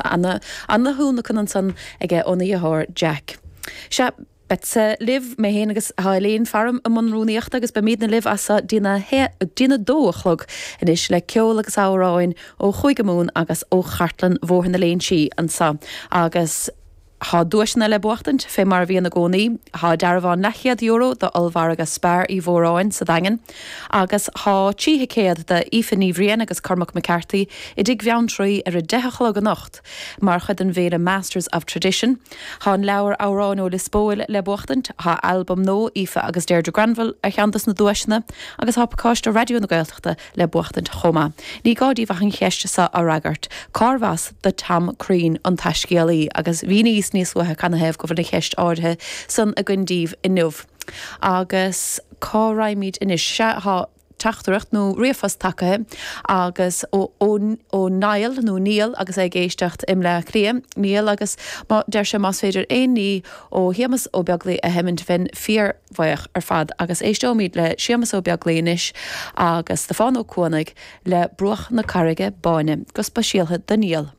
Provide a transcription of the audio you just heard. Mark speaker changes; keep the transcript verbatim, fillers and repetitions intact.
Speaker 1: Ana-thionlacan ansan aige óna dheartháir Jack. Sea, beadsa libh, mé féin agus tá Elaine faram i mbun rúnaíochta agus beimidne libh as seo dtína dtína dó a chlog anois le ceol agus amhráin ó Chúige Mumhan agus ó Chartlann Bhóthar na Léinsí anseo agus Tá duaiseanna le buachtaint, fé mar a bhíonn i gcónaí. Tá dearbhán leathchéad euro do ollmhargadh Spar Uí Mhóráin sa Daingean agus tá trí thicéad do Aoife Ní Bhriain agus Cormac McCarthy i dTigh Bheanntraí ar a deich a chlog anocht mar chuid den bhféile Masters of Tradition. Tá an leabhar Amhráin ó Lios Póil le buachtaint, tá albam nua Aoife agus Deirdre Granville ar cheann dos na duaiseanna agus tá pacáiste Raidió na Gaeltachta le buachtaint chomh maith. Ní gá daoibh ach an cheist seo a fhreagairt, Cárbh as do Tom Crean, an taiscéalaí? Agus mhíníos níos luaithe canathaobh go bhfuil an cheist áirithe san againn daoibh inniu. Agus cá raghaimid anois? Sea, tá teachtaireacht nó ríomhphost tagaithe agus ó ó Niall nó Niall agus é ag éisteacht i mBleá Cliath, Niall agus má deir sé más féidir aon ní ó Shéamus Ó Beaglaoi a sheimint bheinn fíorbhuíoch ar fad agus éisteoimid le Séamus Ó Beaglaoi anois agus Stiofán Ó Cuanaigh le Bruach na Carraige Báine go speisialtha do Niall.